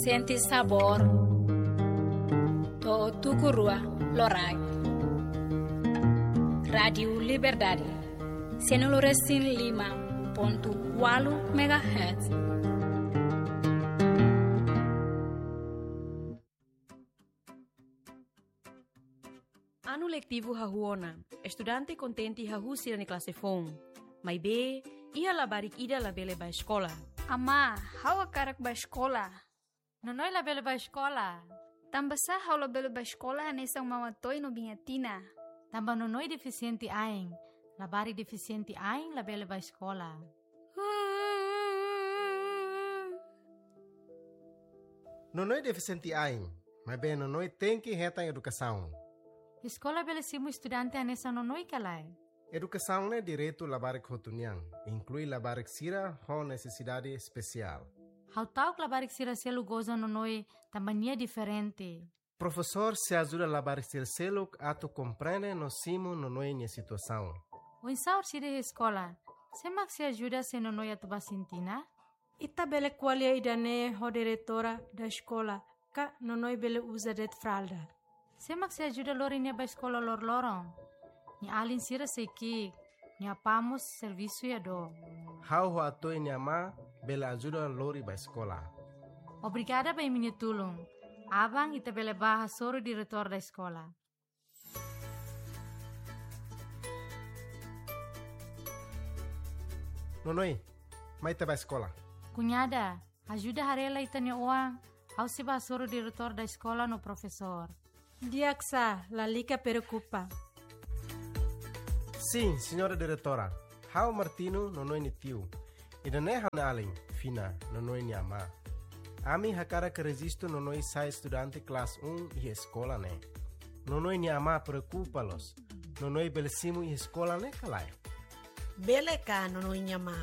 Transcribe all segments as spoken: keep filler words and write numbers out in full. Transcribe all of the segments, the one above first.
Sente sabór. To'o tuku rua loraik. Rádiu Liberdade. Sianulu resin lima pontu ualu megahertz. Anu letivu hahú ona. Estudante kontente hahú sira-nia klase foun. Maibé, iha labarik ida labele bá eskola. Amá, ha'u hakarak bá eskola. Nonoi labele bá eskola. Tanbasá ha'u labele bá eskola hanesan Mama Toy no Biña Tina? Tanba Nonoi defisiente ain. Labarik defisiente ain labele bá eskola. Nonoi defisiente ain, maibé Nonoi tenke hetan edukasaun. Eskola bele simu estudante hanesan Nonoi ka lae? Edukasaun ne'e direitu labarik hotu nian, inklui labarik sira ho nesesidade espesiál. Ha'u ta'uk labarik sira seluk goza Nonoi tanba nia diferente. Profesór sei ajuda labarik sira seluk atu komprende no simu Nonoi nia situasaun. Oinsá orsida iha eskola? Sé mak sei ajuda se Nonoi atu bá sintina? Ita bele ko'alia ida-ne'e ho diretora da eskola, ka Nonoi bele uza de'it fralda. Sé mak sei ajuda lori nia bá eskola loroloron? Nia alin sira sei ki'ik, nia apá mós servisu iha dook. Ha'u ho Atoy nia amá bele ajuda lori bá eskola. Obrigada ba imi-nia tulun. Aban ita bele bá hasoru diretór da eskola. Nonoi, mai ita bá eskola. Kuñada, ajuda haree lai ita-nia oan, ha'u sei bá hasoru diretór da eskola no profesór. Di'ak sá, lalika preokupa. Sin, señora diretora. Ha'u Martino, Nonoi nia tiu. Ida-ne'e ha'u-nia alin, Fina, Nonoi nia amá. Ami hakarak rejistu Nonoi sai estudante klase un iha eskola ne'e. Nonoi nia amá preokupa loos. Nonoi bele simu iha eskola ne'e ka lae? Bele ka, Nonoi nia amá.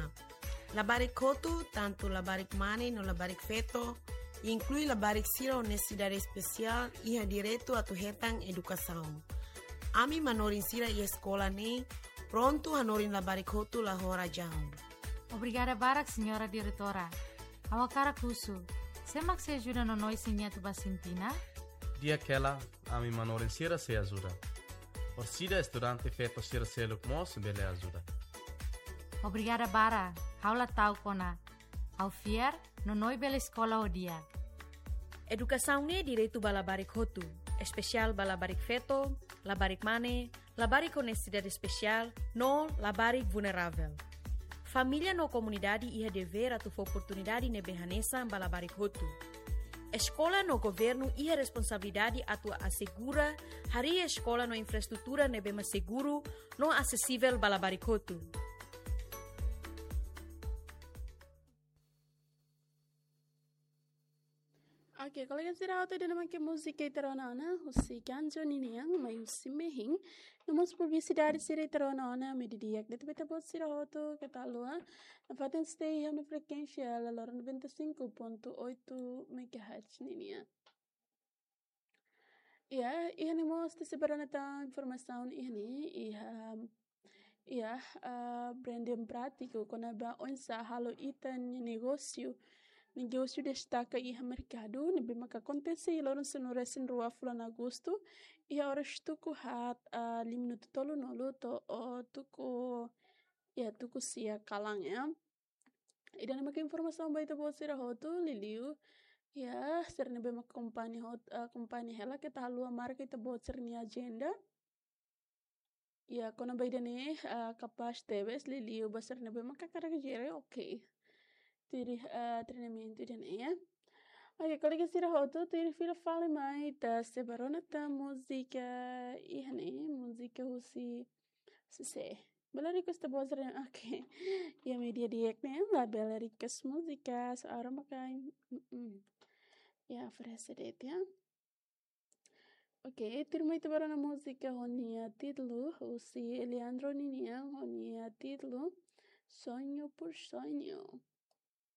Labarik hotu, tantu labarik mane no labarik feto, inklui labarik sira ho nesesidade espesiál, iha direitu atu hetan edukasaun. Ami manorin sira iha eskola ne'e prontu hanorin labarik hotu la ho razaun. Obrigada barak, señora diretora. Ha'u hakarak husu, sé mak sei ajuda Nonoi se nia atu bá sintina? Di'ak hela, ami manorin sira sei ajuda. Orsida estudante feto sira seluk mós bele ajuda. Obrigada barak, ha'u la ta'uk ona. Ha'u fiar, Nonoi bele eskola ho di'ak. Edukasaun ne'e direitu ba labarik hotu, espesiál ba labarik feto, labarik mane, labarik ho nesesidade espesiál, no labarik vulneravel. Família no komunidade iha devér atu fó oportunidade ne'ebé hanesan ba labarik hotu. Eskola no governu iha responsabilidade atu asegura harii eskola no infraestrutura ne'ebé mak seguru no asesivel ba labarik hotu. Oke, kolega sira hotu, ida-ne'e mak múzika ita rona ona, husi Kanjo ninian, mai husi mehin. No mós publisidade sira ita rona ona, maibé di'ak de'it ba ita-boot sira hotu, keta haluha nafatin stay iha ona frekuénsia, Lalor noventa e cinco ponto oito megahertz ninian. Iha, iha ne'e mós ita sei bá rona tan informasaun iha ne'e, iha, iha, ah, branding prátiku, kona-ba oinsá halo ita-nia negósiu, negósiu destaka iha merkadu, ne'ebé maka akontese iha loron sanulu resin rua fulan Agostu, iha oras tuku haat, ah, lima minutu tolunulu to'o, oh, tuku, iha tuku sia kalan, ya. Ida-ne'e maka informasaun ba ita-boot sira hotu, liuliu iha sira ne'ebé mak akompaña hot-, ah, akompaña hela, keta haluha marka ita-boot sira-nia ajenda. Iha kona-ba ida-ne'e, ah, kapás tebes, liuliu ba sira ne'ebé mak hakarak jere, oke. Tuir, ah, treinamentu ida-ne'e, ya. Oke, kolega sira hotu, tuir fila fali mai, ita sei bá rona tan múzika iha ne'e, múzika husi Sese. Bele request ita-boot sira, oke. Iha média di'ak ne'e, labele request múzika, só ha'u mak hanoin. Mm-mm. Ya, oferese de'it, ya. Oke, tuirmai ita bá rona múzika ho nia títulu, husi Eliandro ninian, ho nia títulu, Sonho por Sonho.